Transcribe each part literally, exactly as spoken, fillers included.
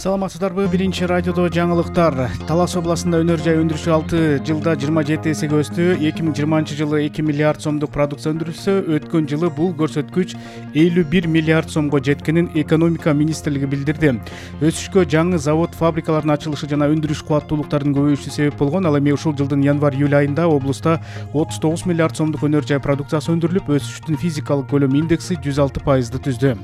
Саламатсыздарбы? Биринчи радиодо жаңылыктар. Талас областында өнөр жай өндүрүшү алты жылда жыйырма жети эсеге өстү. эки миң жыйырманчы жылы эки миллиард сомдук продукция өндүрүлсө, өткөн жылы бул көрсөткүч элүү бир миллиард сомго жеткенин экономика министрлиги билдирди. Өсүшкө жаңы завод, фабрикалардын ачылышы жана өндүрүш кубаттуулуктарынын көбөйүшү себеп болгон. Ал эми ушул жылдын январь-июль айында облустта отуз тогуз миллиард сомдук өнөр жай продукциясы өндүрүлүп, өсүштүн физикалык көлөм индекси жүз алты пайызды түздү.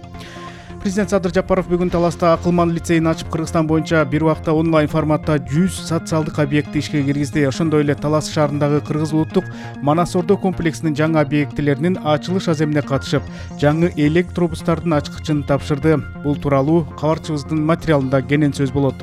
Президент Садыр Жапаров бүгүн Таласта Акылман лицейин ачып, Кыргызстан боюнча бир убакта онлайн форматта жүз социалдык объектти ишке киргизди. Ошондой эле Талас шаарындагы Кыргыз улуттук Манас Ордо комплексинин жаңы объектилеринин ачылыш аземине катышып, жаңы электробустардын ачкычын тапшырды. Бул тууралуу кабарчыбыздын материалында кенен сөз болот.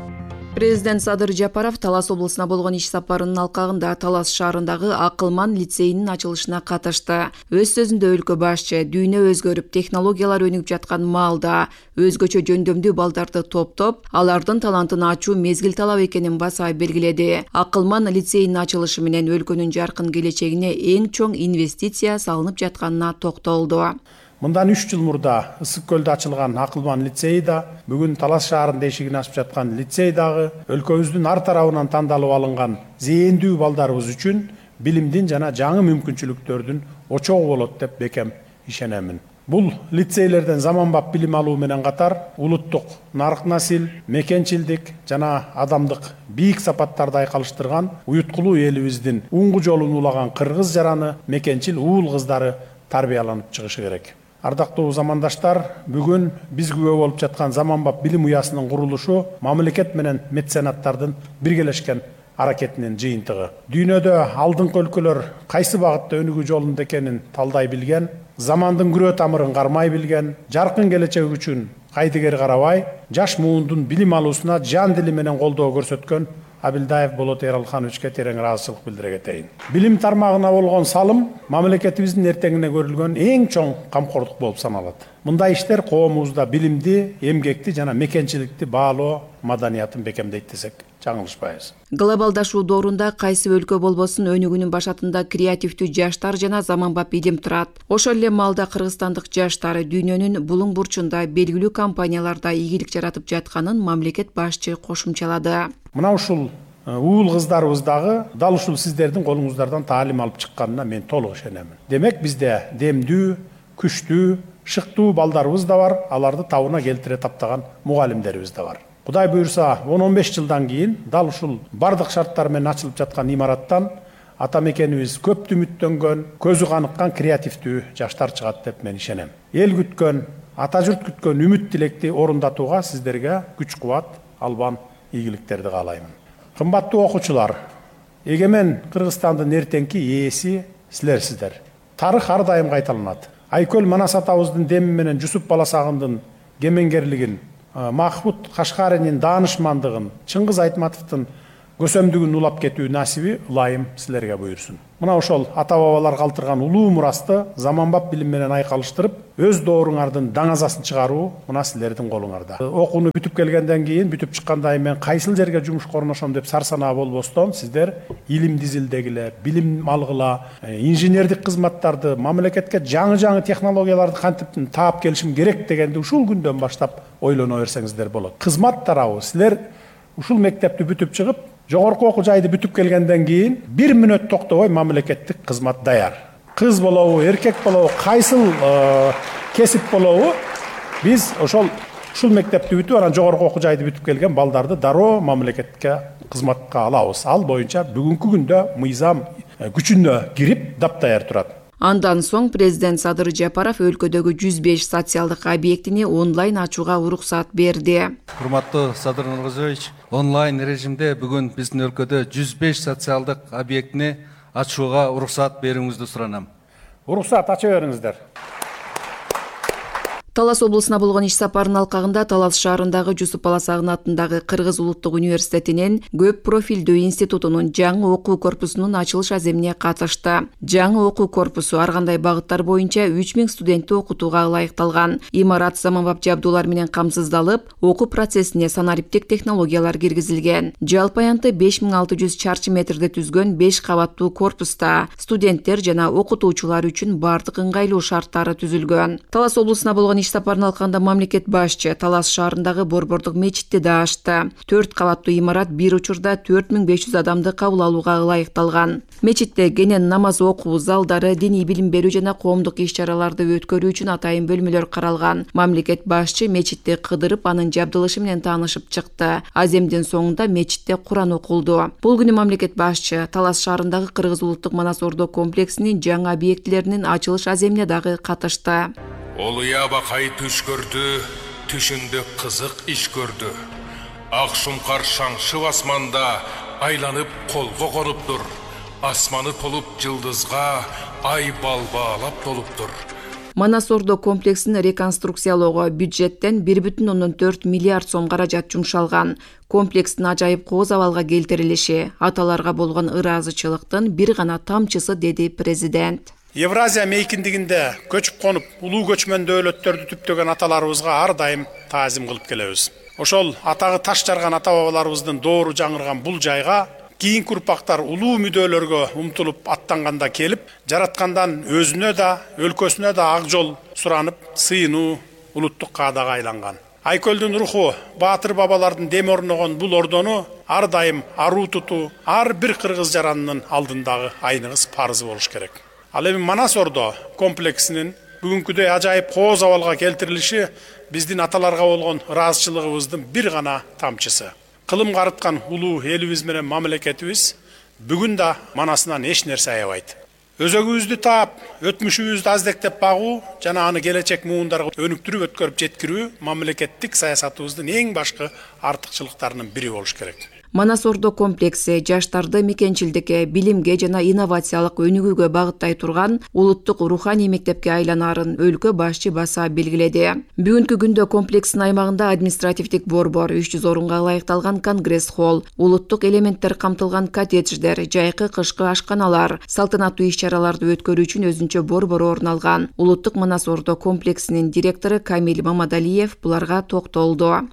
Президент Садыр Жапаров Талас облусуна болгон иш сапарынын алкагында Талас шаарындагы Акылман лицейинин ачылышына катышты. Өз сөзүндө өлкө башчы дүйнө өзгөрүп, технологиялар өнүгүп жаткан маалда өзгөчө жөндөмдүү балдарды топтоп, алардын талантын ачуу мезгил талап экенин баса белгиледи. Акылман лицейинин ачылышы менен өлкөнүн жаркын келечегине эң чоң инвестиция салынып жатканына токтолду. Мындан үч жыл мурда Ысык көлдө ачылган Акылман лицейи да, бүгүн Талас шаарында эшигин ачып жаткан лицей дагы өлкөбүздүн ар тарабынан тандалып алынган зээндүү балдарыбыз үчүн билимдин жана жаңы мүмкүнчүлүктөрдүн очогу болот деп бекем ишенемин. Бул лицейлерден заманбап билим алуу менен катар улуттук нарк насил, мекенчилдик жана адамдык бийик сапаттарды айкалыштырган уюткулуу элибиздин уңгу жолун улаган кыргыз жараны, мекенчил уул кыздары тарбияланып чыгышы керек. Ардактуу замандаштар, бүгүн биз күбө болуп жаткан заманбап билим уясынын курулушу мамлекет менен меценаттардын биргелешкен аракетинин жыйынтыгы. Дүйнөдө алдыңкы өлкөлөр кайсы багытта өнүгүү жолунда экенин талдай билген, замандын күрөө тамырын кармай билген, жаркын келечек үчүн кайдыгер карабай, жаш муундун билим алуусуна жан дили менен колдоо көрсөткөн Абилдаев Болот Эралхановичке терең ыраазычылык билдире кетейин. Билим тармагына болгон салым мамлекетибиздин эртеңине көрүлгөн эң чоң камкордук болуп саналат. Мындай иштер коомубузда билимди, эмгекти жана мекенчиликти баалоо маданиятын бекемдейт десек жаңылышпайбыз. Глобалдашуу доорунда кайсы өлкө болбосун өнүгүүнүн башатында креативдүү жаштар жана заманбап илим турат. Ошол эле маалда кыргызстандык жаштар дүйнөнүн булуң бурчунда белгилүү компанияларда ийгилик жаратып жатканын мамлекет башчы кошумчалады. Мына ушул уул кыздарыбыз дагы дал ушул сиздердин колуңуздардан таалим алып чыкканына мен толук ишенемин. Демек бизде демдүү, күчтүү, шыктуу балдарыбыз да бар, аларды табына келтире таптаган мугалимдерибиз да бар. Кудай буйрса он он беш жылдан кийин дал ушул бардык шарттар менен ачылып жаткан имараттан ата мекенибиз көптү үмүттөнгөн, көзү каныккан креативдүү жаштар чыгат деп мен ишенем. Эл күткөн, ата журт күткөн үмүт тилекти орундатууга сиздерге күч кубат, албан ийгиликтерди каалаймын. Кымбаттуу окуучулар, эгемен Кыргызстандын эртеңки ээси силерсиздер. Тарых ар дайым кайталанат. Айкөл Манас атабыздын деми менен Жусуп Баласагындын кемеңгерлигин, Махмуд Кашкаринин даанышмандыгын, Чыңгыз Айтматовдун көсөмдүгүн улап кетүү насиби ылайым силерге буйрсун. Мына ошол ата-бабалар калтырган улуу мурасты заманбап билим менен айкалыштырып, өз дооруңардын даңазасын чыгаруу мына силердин колуңарда. Окууну бүтүп келгенден кийин, бүтүп чыккандай мен кайсыл жерге жумушка орношом деп сарсанаа болбостон, сиздер илим дизилдегиле, билим алгыла, инженердик кызматтарды, мамлекетке жаңы-жаңы технологияларды кантип таап келишим керек дегенди ушул күндөн баштап ойлоно берсеңиздер болот. Кызмат тарабы силер ушул мектепти бүтүп чыгып, жогорку окуу жайды бүтүп келгенден кийин бир мүнөт токтобой мамлекеттик кызмат даяр. Кыз болобу, эркек болобу, кайсыл кесип болобу, биз ошол ушул мектепти бүтүп, анан жогорку окуу жайды бүтүп келген балдарды дароо мамлекетке кызматка алабыз. Ал боюнча бүгүнкү күндө мыйзам күчүнө кирип даптаяр турат. Андан соң президент Садыр Жапаров өлкөдөгү жүз беш социалдык объектини онлайн ачууга уруксат берди. Урматтуу Садыр Нуркызович, онлайн режимде бүгүн биздин өлкөдө жүз беш социалдык объектини ачууга уруксат берүүңүздү суранам. Уруксат ача бериңиздер. Талас облусуна болгон иш сапарынын алкагында Талас шаарындагы Жусуп Баласагын атындагы Кыргыз улуттук университетинин көп профилдүү институтунун жаңы окуу корпусунун ачылыш аземине катышты. Жаңы окуу корпусу ар кандай багыттар боюнча үч миң студентти окутууга ылайыкталган. Имарат заманбап жабдуулар менен камсыздалып, окуу процессине санариптик технологиялар киргизилген. Жалпы аянты беш миң алты жүз чарчы метрди түзгөн беш кабаттуу корпуста студенттер жана окутуучулар үчүн бардык ыңгайлуу шарттары түзүлгөн. Талас облусуна болгон иш сапарын алканда мамлекет башчы Талас шаарындагы Борбордук мечитти да ачты. Төрт кабаттуу имарат бир учурда төрт миң беш жүз адамды кабыл алууга ылайыкталган. Мечитте кенен намаз окуу залдары, диний билим берүү жана коомдук иш-чараларды өткөрүү үчүн атайын бөлмөлөр каралган. Мамлекет башчы мечитти кыдырып, анын жабдылышы менен таанышып чыкты. Аземдин соңунда мечитте Куран окулду. Бул күнү мамлекет башчы Талас шаарындагы Кыргыз улуттук Манас-Ордо комплексинин жаңы объектилеринин ачылыш аземине дагы катышты. Олуя бакай түш көрдү, түшүндө кызык иш көрдү. Ак шумкар шаңшып асманда айланып колго конуптур. Асманы толуп жылдызга, ай балбаалап толуптур. Манас-Ордо комплексин реконструкциялоого бюджеттен бир бүтүн ондон төрт миллиард сом каражат жумшалган. Комплекстин ажайып кооз абалга келтирилиши аталарга болгон ыраазычылыктын бир гана тамчысы, деди президент. Евразия мейкиндигинде көчүп конуп, улуу көчмөн дөөлөттөрдү түптөгөн аталарыбызга ар дайым таазим кылып келебиз. Ошол атагы таш жарган ата бабаларыбыздын доору жаңырган бул жайга кийинки урпактар улуу мүдөлөргө умтулуп аттанганда келип, жараткандан өзүнө да, өлкөсүнө да ак жол суранып, сыйынуу улуттук каадага айланган. Айкөлдүн руху, баатыр бабалардын дем орногон бул ордону ар дайым аруу тутуу ар бир кыргыз жаранынын алдындагы айныңыз парызы болуш керек. Ал эми Манас-Ордо комплексинин бүгүнкүдөй ажайып кооз абалга келтирилиши биздин аталарга болгон ыраазычылыгыбыздын бир гана тамчысы. Кылым карыткан улуу элибиз менен мамлекетибиз бүгүн да манасынан эч нерсе аябайт. Өзөгүбүздү таап, өтмүшүбүздү аздектеп багуу жана аны келечек муундарга өнүктүрүп өткөрүп жеткирүү мамлекеттик саясатыбыздын эң башкы артыкчылыктарынын бири болуш керек. Манас-Ордо комплекси жаштарды мекенчилдикке, билимге жана инновациялык өнүгүүгө багыттай турган улуттук руханий мектепке айланарын өлкө башчы баса белгиледи. Бүгүнкү күндө комплекстин аймагында административдик борбор, үч жүз орунга ылайыкталган конгресс холл, улуттук элементтер камтылган коттедждер, жайкы кышкы ашканалар, салтанаттуу иш-чараларды өткөрүү үчүн өзүнчө борбор орун алган. Улуттук Манас-Ордо комплексинин директору Камил Мамадалиев буларга токтолду.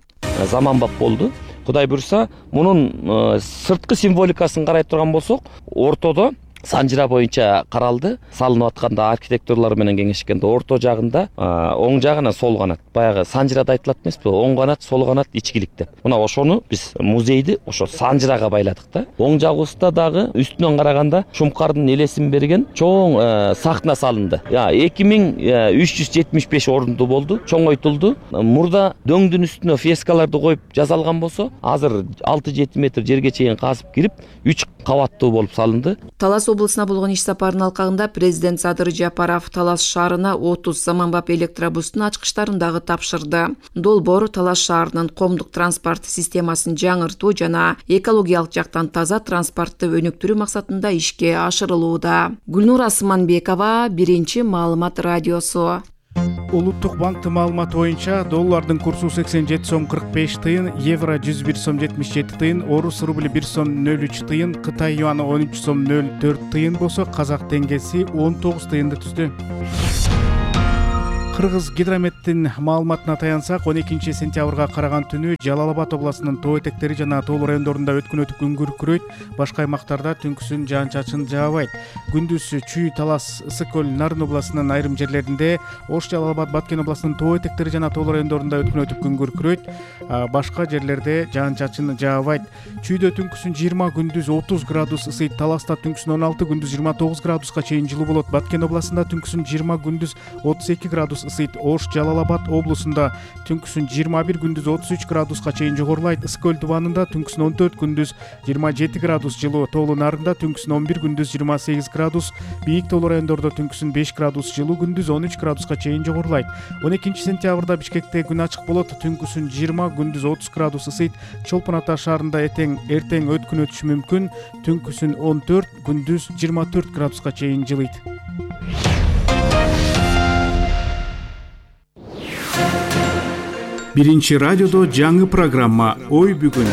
Заманбап болду. Кудай буйрса, мунун сырткы символикасын карай турган болсок, ортодо санжыра боюнча каралды. Салынып атканда архитекторлор менен кеңешкенде орто жагында, оң жагына сол канат. Баягы санжырада айтылат эмеспи? Оң канат, сол канат ичкилик деп. Мына ошону биз музейди ошо санжырага байладык да. Оң жагыбызда дагы үстүнөн караганда Шумкардын элесин берген чоң сахна салынды. эки миң үч жүз жетимиш беш орунду болду, чоңойтулду. Мурда дөңдүн үстүнө фрескаларды коюп жасалган болсо, азыр алты жети метр жерге чейин казып кирип, үч кабаттуу болуп салынды. Талас облусуна болгон иш сапарынын алкагында президент Садыр Жапаров Талас шаарына отуз заманбап электробустун ачкычтарын дагы тапшырды. Долбоор Талас шаарынын коомдук транспорт системасын жаңыртуу жана экологиялык жактан таза транспортты өнүктүрүү максатында ишке ашырылууда. Гүлнур Асманбекова, Биринчи маалымат радиосу. Улуттук банктын маалыматы боюнча доллардын курсу сексен жети сом кырк беш тыйын, евро жүз бир сом жетимиш жети тыйын, орус рубли бир сом нөл үч тыйын, Кытай юаны он үч сом нөл төрт тыйын болсо, казак теңгеси он тогуз тыйынды түздү. Кыргыз гидрометтин маалыматына таянсак, он экинчи сентябрга караган түнү Жалал Абад областынын тоо этектери жана тоо райондорунда өткөн өтүп күн күркүрөйт, башка аймактарда түнкүсүн жаан-чачын жаабайт. Күндүз Чүй, Талас, Ысык көл, Нарын областынын айрым жерлеринде, Ош, Жалал Абад, Баткен областынын тоо этектери жана тоо райондорунда өткөн өтүп күн күркүрөйт, башка жерлерде жаан-чачын жаабайт. Чүйдө түнкүсүн жыйырма, күндүз отуз градус ысыйт, Таласта түнкүсүн он алты, күндүз жыйырма тогуз градуска чейин жылуу болот. Баткен областында түнкүсүн жыйырма, күндүз отуз эки градус ысыйт. Ош, Жалал Абад облусунда түнкүсүн жыйырма бир, күндүз отуз үч градуска чейин жогорулайт. Ысык көл тубанында түнкүсүн он төрт, күндүз жыйырма жети градус жылуу. Тоолу Нарында түнкүсүн он бир, күндүз жыйырма сегиз градус. Бийик тоолу райондордо түнкүсүн беш градус жылуу, күндүз он үч градуска чейин жогорулайт. он экинчи сентябрда Бишкекте күн ачык болот. Түнкүсүн жыйырма, күндүз отуз градус ысыйт. Чолпон Ата шаарында этең эртең өткүн өтүшү мүмкүн. Түнкүсүн он төрт, күндүз жыйырма төрт градуска чейин жылыйт. Биринчи радиодо жаңы программа Ой бүгүн.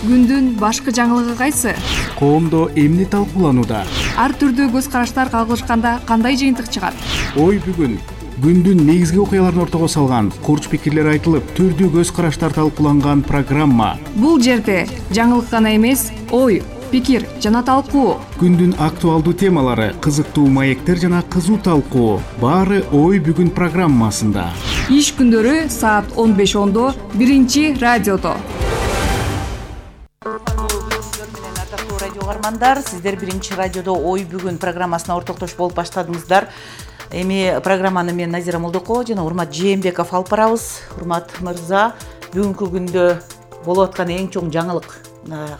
Күндүн башкы жаңылыгы кайсы? Коомдо эмне талкууланууда? Ар түрдүү көз караштар кагылышканда кандай жыйынтык чыгат? Ой бүгүн. Күндүн негизги окуяларын ортого салган, курч пикирлер айтылып, түрдүү көз караштар талкууланган программа. Бул жерде жаңылык гана эмес, ой, пикир жана талкуу, күндүн актуалдуу темалары, кызыктуу маектер жана кызуу талкуу баары Ой бүгүн программасында. иш күндөрү саат он беш ондо биринчи радиодо. Ардактуу радио угармандар, сиздер биринчи радиодо Ой бүгүн программасына ортоктош болуп баштадыңыздар. Эми программаны мен Назира Молдокова жана Урмат Жээнбеков алып барабыз. Урмат мырза, бүгүнкү күндө болуп аткан эң чоң жаңылык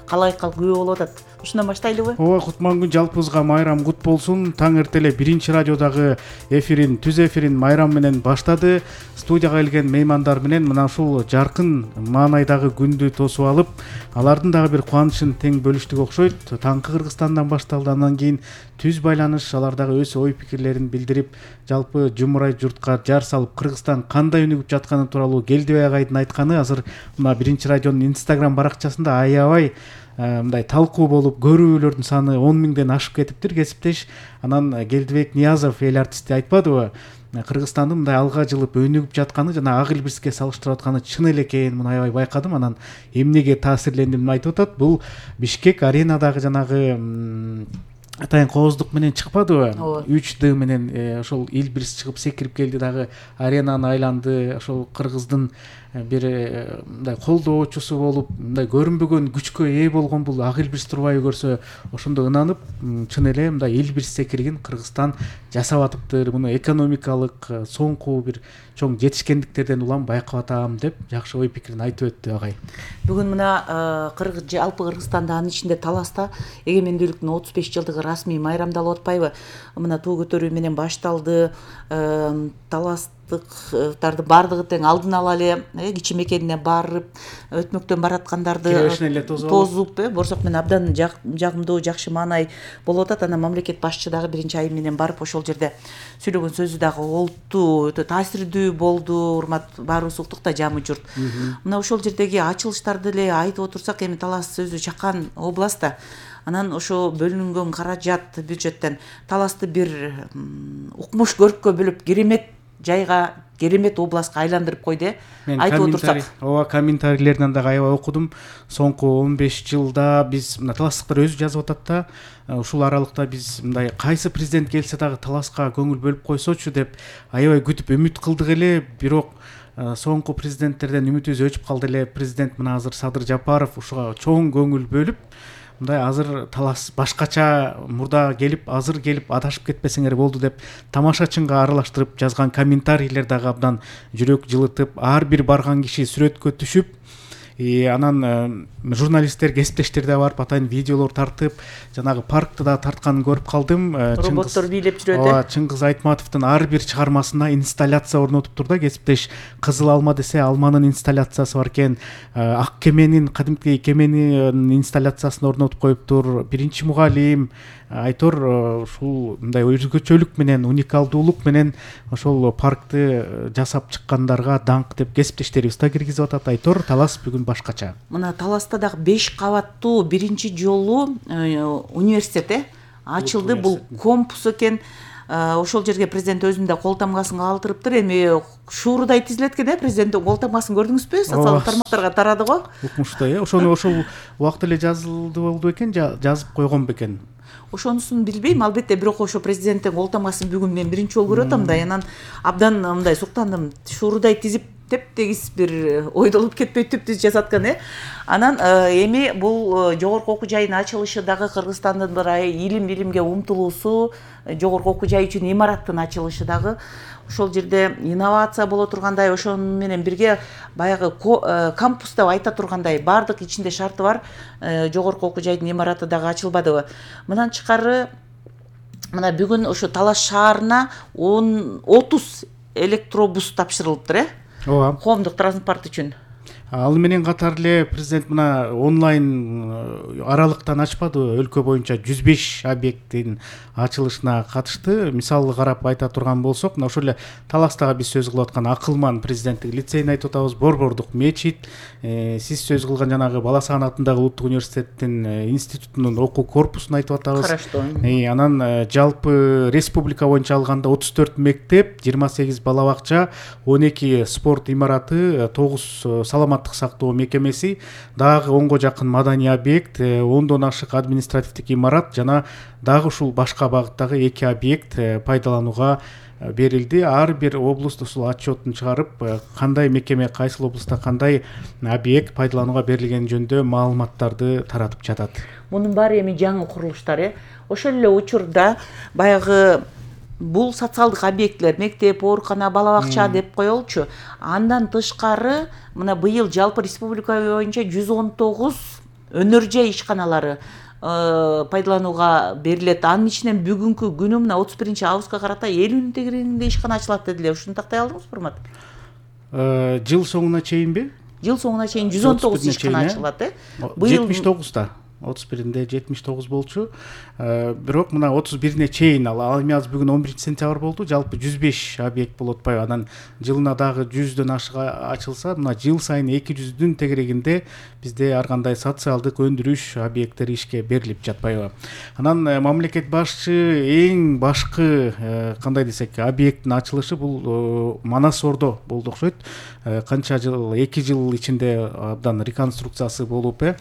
калайыкка күбө болуп атат. Ушундан баштайлыбы? Ооба, кутман күн жалпыбызга майрам кут болсун. Таң эртеле биринчи радиодагы эфирин, түз эфирин майрам менен баштады. Студияга келген меймандар менен мына ушул жаркын маанайдагы күндү тосуп алып, алардын дагы бир кубанычын тең бөлүштүк окшойт. Таңкы Кыргызстандан башталды, андан кийин түз байланыш, алар дагы өз ой пикирлерин билдирип, жалпы жумурай журтка жар салып, Кыргызстан кандай өнүгүп жатканы тууралуу Келдибей агайдын айтканы азыр мына биринчи радионун Инстаграм баракчасында аябай мындай талкуу болуп, көрүүлөрдүн саны он миңден ашып кетиптир. Кесиптеш анан Келдибек Ниязов эл артисти айтпадыбы? Кыргызстандын мындай алга жылып өнүгүп жатканы жана ак илбирске салыштырып атканы чын эле экенин муну аябай байкадым. Анан эмнеге таасирлендим айтып атат. Бул Бишкек аренадагы жанагы атайын кооздук менен чыкпадыбы? үч д менен ошол илбирс чыгып секирип келди дагы аренаны айланды. Ошол кыргыздын бир мындай колдоочусу болуп, мындай көрүнбөгөн күчкө ээ болгон бул ак илбирс турбайбы көрсө, ошондо ынанып, чын эле мындай илбирс секиригин Кыргызстан жасап атыптыр. Муну экономикалык соңку бир чоң жетишкендиктерден улам байкап атам деп жакшы ой пикирин айтып өттү агай. Бүгүн мына Кыргыз жалпы Кыргызстанда, анын ичинде Таласта эгемендүүлүктүн отуз беш жылдыгы расмий майрамдалып атпайбы? Мына туу көтөрүү менен башталды. Таластыктарды баардыгы тең алдын ала эле кичи мекенине барып, өтмөктөн бараткандарды тозуп, борсок менен абдан жагымдуу, жакшы маанай болуп атат. Анан мамлекет башчы дагы биринчи айым менен барып ошол жерде сүйлөгөн сөзү дагы олуттуу, өтө таасирдүү болду. Урмат, баарыбыз уктук да, жамы журт. Мына ошол жердеги ачылыштарды эле айтып отурсак, эми Талас өзү чакан област да. Анан ошо бөлүнгөн каражат бюджеттен Таласты бир укмуш көрккө бөлүп, керемет жайга, керемет областка айландырып койду. Айтып отурсак. Ооба, комментарийлеринен дагы аябай окудум. Соңку он беш жылда биз мына таластыктар өзү жазып атат да, ушул аралыкта биз мындай кайсы президент келсе дагы Таласка көңүл бөлүп койсочу деп аябай күтүп үмүт кылдык эле. Бирок соңку президенттерден үмүтүбүз өчүп калды эле. Президент мына азыр Садыр Жапаров ушуга чоң көңүл бөлүп, мындай азыр Талас башкача мурда келип, азыр келип адашып кетпесеңер болду деп тамашачынга аралаштырып жазган комментарийлер дагы абдан жүрөк жылытып, ар бир барган киши сүрөткө түшүп, анан журналисттер, кесиптештер да барып атайын видеолор тартып, жанагы паркты да тартканын көрүп калдым. Роботтор бийлеп жүрөт. Ооба, Чыңгыз Айтматовдун ар бир чыгармасына инсталляция орнотуптур да. Кесиптеш Кызыл алма десе, алманын инсталляциясы бар экен. Ак кеменин, кадимки кеменин инсталляциясын орнотуп коюптур. Биринчи мугалим Айтор ушул мындай өзгөчөлүк менен, уникалдуулук менен ошол паркты жасап чыккандарга даңк деп кесиптештерибиз да киргизип атат. Айтор, Талас бүгүн башкача. Мына Таласта дагы беш кабаттуу биринчи жолу университет ачылды. Бул компус экен. Ошол жерге президент өзүнүн да кол тамгасын калтырыптыр. Эми шуурудай тизилет экен, э, президенттин кол тамгасын көрдүңүзбү? Социалдык тармактарга тарады го. Укмуштай, э, ошону ошол убакта эле жазылды болду экен, жазып койгон бекен. Ошонусун билбейм, албетте, бирок ошо президенттин кол тамгасын бүгүн мен биринчи жолу көрүп атам да. Анан абдан мындай суктандым. Шуурудай тизип, тептегиз бир ойдолуп кетпей түп-түз жасаткан, э. Анан эми бул жогорку окуу жайынын ачылышы дагы Кыргызстандын бир илим билимге умтулуусу, жогорку окуу жай үчүн имараттын ачылышы дагы ошол жерде инновация боло тургандай, ошону менен бирге баягы кампус деп айта тургандай баардык ичинде шарты бар жогорку окуу жайдын имараты дагы ачылбадыбы. Мындан тышкары мына бүгүн ошо Талас шаарына отуз электробус тапшырылыптыр, э. Ооба. Коомдук транспорт үчүн. Ал менен катар эле президент мына онлайн аралыктан ачпады, өлкө боюнча жүз беш объекттин ачылышына катышты. Мисалы карап айта турган болсок, мына ошол эле Таластагы биз сөз кылып аткан Акылман президенттик лицейин айтып атабыз, Борбордук мечит, сиз сөз кылган жанагы Бала Саган атындагы Улуттук университеттин институтунун окуу корпусун айтып атабыз. Караштуу. Анан жалпы республика боюнча алганда отуз төрт мектеп, жыйырма сегиз бала бакча, он эки спорт имараты, тогуз саламат ааматтык сактоо мекемеси, дагы онго жакын маданий объект, ондон ашык административдик имарат жана дагы ушул башка багыттагы эки объект пайдаланууга берилди. Ар бир облуст ушул отчетун чыгарып, кандай мекеме кайсыл облустта кандай объект пайдаланууга берилгени жөнүндө маалыматтарды таратып жатат. Мунун баары эми жаңы курулуштар, э ошол эле учурда баягы бул социалдык объектлер, мектеп, оорукана, бала бакча деп коелучу. Андан тышкары мына быйыл жалпы республика боюнча жүз он тогуз өнөр жай ишканалары пайдаланууга берилет. Анын ичинен бүгүнкү күнү мына отуз биринчи августка карата элүүнүн тегерегинде ишкана ачылат дедилер. Ушуну тактай алдыңызбы, урмат? Жыл соңуна чейинби? Жыл соңуна чейин жүз он тогуз ишкана ачылат, э? Быйыл жетимиш тогузда. отуз биринде жетимиш тогуз болчу. Бирок мына отуз бирине чейин ал эми азыр бүгүн он биринчи сентябрь болду. Жалпы жүз беш объект болуп атпайбы? Анан жылына дагы жүздөн ашык ачылса, мына жыл сайын эки жүздүн тегерегинде бизде ар кандай социалдык өндүрүш объекттери ишке берилип жатпайбы? Анан мамлекет башчы эң башкы кандай десек объекттин ачылышы бул Манас Ордо болду окшойт. Канча жыл, эки жыл ичинде абдан реконструкциясы болуп, э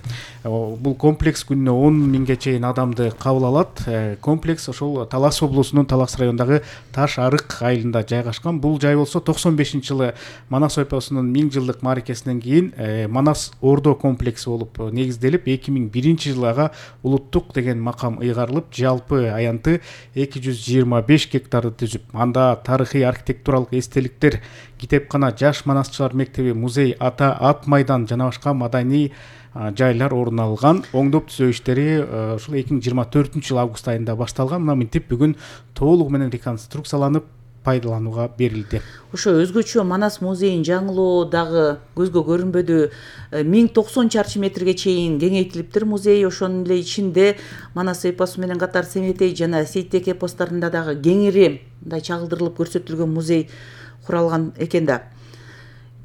бул комплекс күнүнө он миңге чейин адамды кабыл алат. Комплекс ошол Талас облусунун Талас районундагы Таш Арык айылында жайгашкан. Бул жай болсо токсон бешинчи жылы Манас ойпосунун миң жылдык мааракесинен кийин Манас Ордо комплекси болуп негизделип, эки миң биринчи жылы ага улуттук деген макам ыйгарылып, жалпы аянты эки жүз жыйырма беш гектарды түзүп, анда тарыхый архитектуралык эстеликтер, китепкана, жаш манасчылар мектеби, музей, ата ат майдан жана башка маданий жайлар орун алган. Оңдоп түзөө иштери ушул эки миң жыйырма төртүнчү жыл август айында башталган. Мына мынтип бүгүн толугу менен реконструкцияланып пайдаланууга берилди. Ошо өзгөчө Манас музейин жаңылоо дагы көзгө көрүнбөдү. миң токсон чарчы метрге чейин кеңейтилиптир музей. Ошонун эле ичинде Манас эпосу менен катар Семетей жана Сейтек эпостарында дагы кеңири мындай чагылдырылып көрсөтүлгөн музей куралган экен да.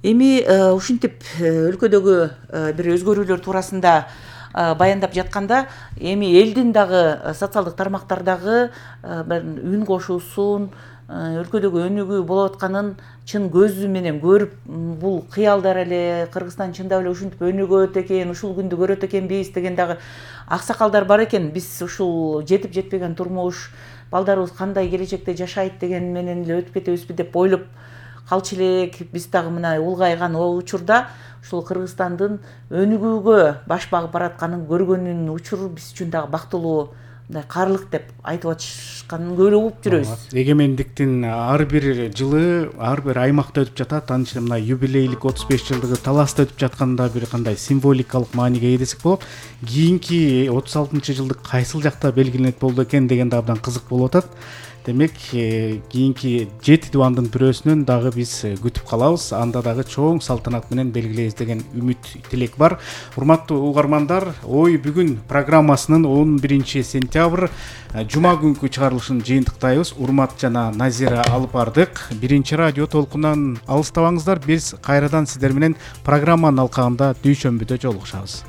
Эми ушинтип өлкөдөгү бир өзгөрүүлөр туурасында баяндап жатканда, эми элдин дагы социалдык тармактардагы бир үн кошуусун, өлкөдөгү өнүгүү болуп атканын чын көзү менен көрүп, бул кыялдар эле Кыргызстан чындап эле ушинтип өнүгөт экен, ушул күндү көрөт экенбиз деген дагы аксакалдар бар экен. Биз ушул жетип жетпеген турмуш, балдарыбыз кандай келечекте жашайт деген менен эле өтүп кетебизби деп ойлоп калчу элек. Биз дагы мына улгайган учурда ушул Кыргызстандын өнүгүүгө баш багып баратканын көргөнүн учуру биз үчүн дагы бактылуу, мындай каалык деп айтып атышканын көөлө угуп жүрөбүз. Эгемендиктин ар бир жылы ар бир аймакта өтүп жатат. Анын ичинде мына юбилейлик отуз беш жылдыгы Таласта өтүп жатканда бир кандай символикалык мааниге ээ десек болот. Кийинки отуз алтынчы жылдык кайсыл жакта белгиленет болду экен деген да абдан кызык болуп атат. Демек, кийинки жети дубандын бирөөсүнөн дагы биз күтүп калабыз. Анда дагы чоң салтанат менен белгилейбиз деген үмүт, тилек бар. Урматтуу угармандар, Ой бүгүн программасынын он биринчи сентябрь жума күнкү чыгарылышын жыйынтыктайбыз. Урмат жана Назира алып бардык. Биринчи радио толкунан алыстабаңыздар. Биз кайрадан сиздер менен программанын алкагында дүйшөмбүдө жолугушабыз.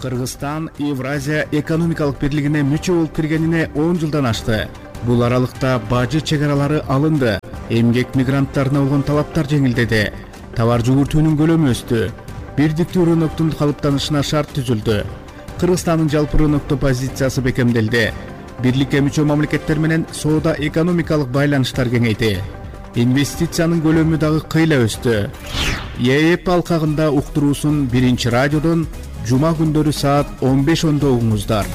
Кыргызстан Евразия экономикалык бирлигине мүчө болуп киргенине он жылдан ашты. Бул аралыкта бажы чек аралары алынды. Эмгек мигранттарына болгон талаптар жеңилдеди. Товар жүгүртүүнүн көлөмү өстү. Бирдиктүү рыноктун калыптанышына шарт түзүлдү. Кыргызстандын жалпы рынокто позициясы бекемделди. Бирликке мүчө мамлекеттер менен соода экономикалык байланыштар кеңейди. Инвестициянын көлөмү дагы кыйла өстү. ЕЭП алкагында уктуруусун биринчи радиодон жума күндөрү саат он беш ондо угуңуздар.